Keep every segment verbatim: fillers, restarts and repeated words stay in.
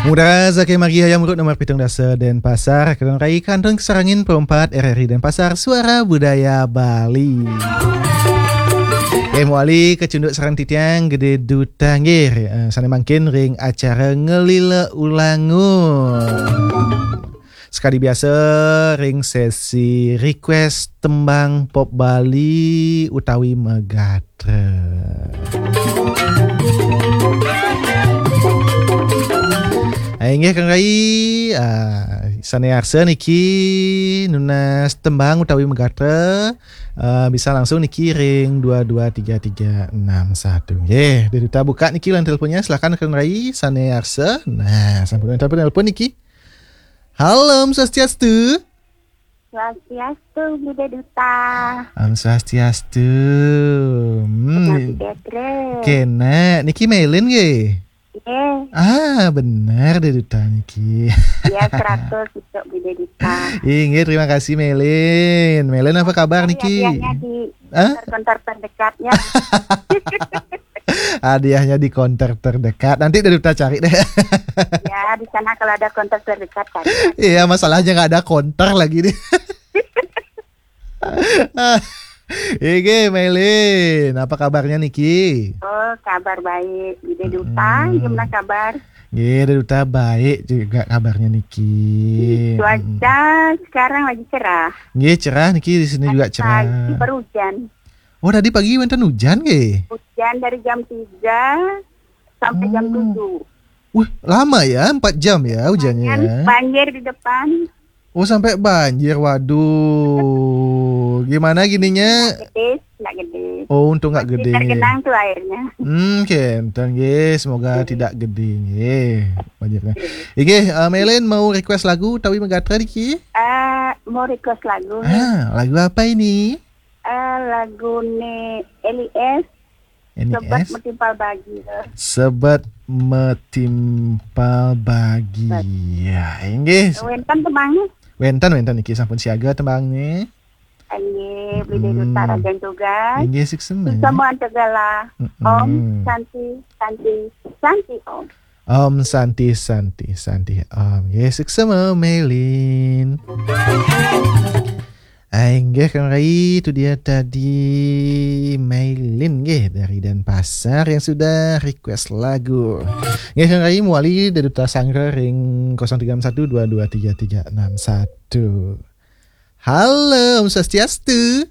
Mudara saking margi Hayam Wuruk nomor pitung dasa Denpasar, kalian rai kantun kasarengin perempat R R I Denpasar, Suara Budaya Bali. Eh, mawali kacunduk sareng titiang Gede Duta nggih, eh, sane mangkin ring acara Ngelila Ulangun. Sekadi biasa ring sesi request tembang pop Bali utawi megatra. Ah, inggih, kalian rai, ah, sane arsa niki nunas tembang utawi megatra, ah, bisa langsung niki ring dua dua tiga tiga enam satu. Nggih, Gede Duta buka niki line teleponnya, silakan kalian rai sane arsa. Nah, sampun wenten penelpon niki. Halo, Om Swastiastu. Swastiastu, Gede Duta. Om Swastiastu. Hmm, Swastiastu. Kena, niki Melin nggih? Nggih. Ah, bener Gede Duta niki. Ya, seratus untuk Gede Duta. Inggih, terima kasih Melin. Melin, apa kabar niki? Hadiahnya di Hah? Konter-konter terdekatnya. Hadiahnya di konter terdekat. Nanti Gede Duta cari deh. Ya, di sana kalau ada konter terdekat kan. Iya, masalahnya nggak ada konter lagi nih. Inggih, Melin, apa kabarnya niki? Oh, kabar baik. Gede Duta, gimana kabar? Nggih, Gede Duta baik juga kabarnya niki. Cuaca sekarang lagi cerah. Nggih, cerah niki, di sini juga cerah. Tadi pagi baru hujan. Oh, tadi pagi wenten hujan nggih? Hujan dari jam tiga sampai jam tujuh. Wih, lama ya, empat jam ya hujannya ya? Banjir di depan. Oh, sampai banjir, waduh. Gimana gininya? Nggak gede, nggak gede. Oh, untung nggak gede. Masih tergenang tuh airnya. Hmm, kenten nggih, semoga tidak gede nggih banjirnya. Nggih. Inggih, eh, Melin mau request lagu utawi megatra niki? Eh, mau request lagu nih. Ah, lagu apa ini? Eh, lagune Eli S. Ini Sebet S. Metimpal bahagia. Sebet metimpal bahagia. Inggih. Wenten tembange? Wenten, wenten niki sampun siaga tembange. Inggih, Beli Duta Rajan Tugas. Inggih, suksma. Suksma Antegala. Mm-mm. Om Santi, Santi, Santi Om. Om Santi, Santi, Santi Om. Nggih, suksma Melin. Ai, nggih, Kang Rai, itu dia tadi Mailin, nggih, dari Denpasar yang sudah request lagu. Nggih, Kang Rai, mawali Gede Duta sanggra ring kosong tiga enam satu dua dua tiga tiga enam satu. Halo, Om Swastiastu.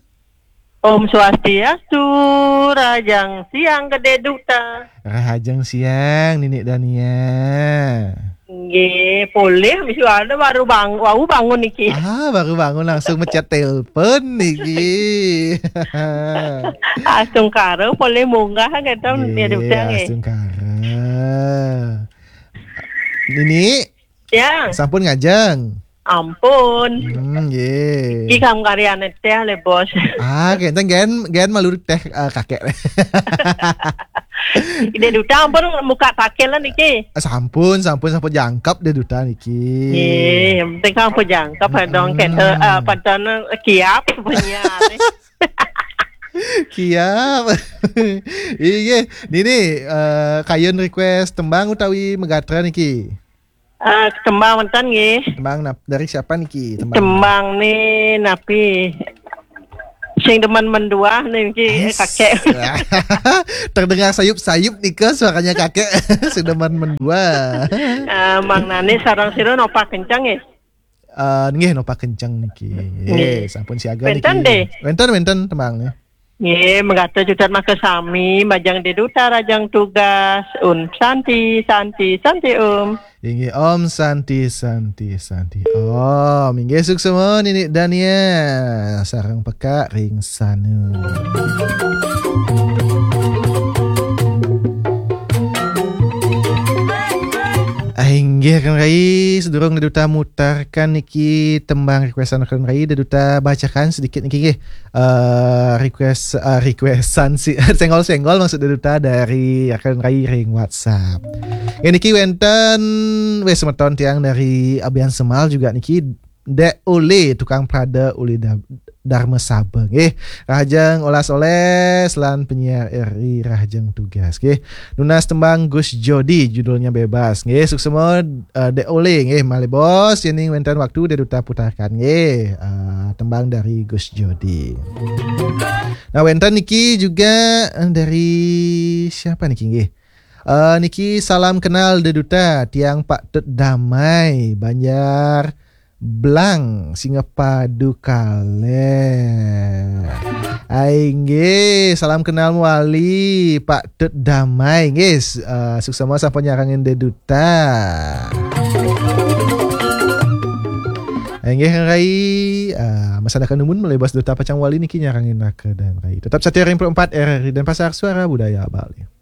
Om Swastiastu, rahajeng siang Gede Duta. Rahajeng siang, Nini Dania. Nggih, polih mesti ada baru bang-, wau bangun niki. Ah, baru bangun langsung mecet telepon niki. Astungkara polih munggah gitu, nggih, ya, Duta, nggih. Astungkara. Nini? Ya. Sampun ngajeng? Ampun. Hmm, nggih. Iki kam karyane teh le, Bos. Ah, kenten gen, gen malu teh, eh, kakek. Gede Duta ampun muka kakek lah niki. Sampun, sampun, sampun jangkep Gede Duta niki. Nggih, yang penting sampun jangkep, dong, hmm, kenten, eh, penten kiap penyiar. Kiap. Iya, Nini, eh, kayun request tembang utawi megatra niki? Eh, tembang wenten nggih. Tembang nap-, dari siapa niki? Tembang. Tembang nih, napi? Sing demen menduah niki, eh, kakek. Terdengar sayup-sayup nika suaranya kakek. Sing demen menduah. Eh, Mang Nani sareng sira nopak kenceng nggih? Eh, nggih, nopak kenceng niki. Nggih. Nggih, sampun siaga niki. Wenten, nggih. Wenten, wenten tembang nih. Nggih, megatra jutar maka sami, majeng Gede Duta rahajeng tugas, Om Santi, Santi, Santi Om. Inggih, Om Santi, Santi, Santi Om. Inggih, suksma Nini Dania sareng peka ring sanu. Ah, inggih, Kang Rai, sedurung Gede Duta mutarkan niki tembang requestan Kang Rai, Gede Duta bacakan sedikit niki nggih. Eh, request, eh, requestan si, senggol-senggol maksud Gede Duta dari Kang Rai ring WhatsApp. Nggih, niki wenten, weh, semeton tiang dari Abian Semal juga niki, Dek Uli, tukang prada uli da-, Dharma Sabeng nggih. Rahajeng olas-oles lan penyiar R I rahajeng tugas nggih. Nunas tembang Gus Jodi, judulnya Bebas nggih. Suksema, eh, Dek Ole nggih, malih bos, yening wenten waktu Dek Duta putarkan nggih, eh, tembang dari Gus Jodi. Nah, wenten niki juga, eh, dari siapa niki nggih? Eh, niki salam kenal Dek Duta, tiang Pak Tut Damai, Banjar Blang, Singapadu Kaleh. Ai nggih, salam kenal mawali Pak Tut Damai nggih. Eh, suksema sampun nyarengin Dek Duta. Ai nggih, Rai, eh, masa nunas nunas malih bos Duta pacang wali niki nyarengin Raka dan Rai. Tetap setia ring empat R R I Denpasar, Suara Budaya Bali.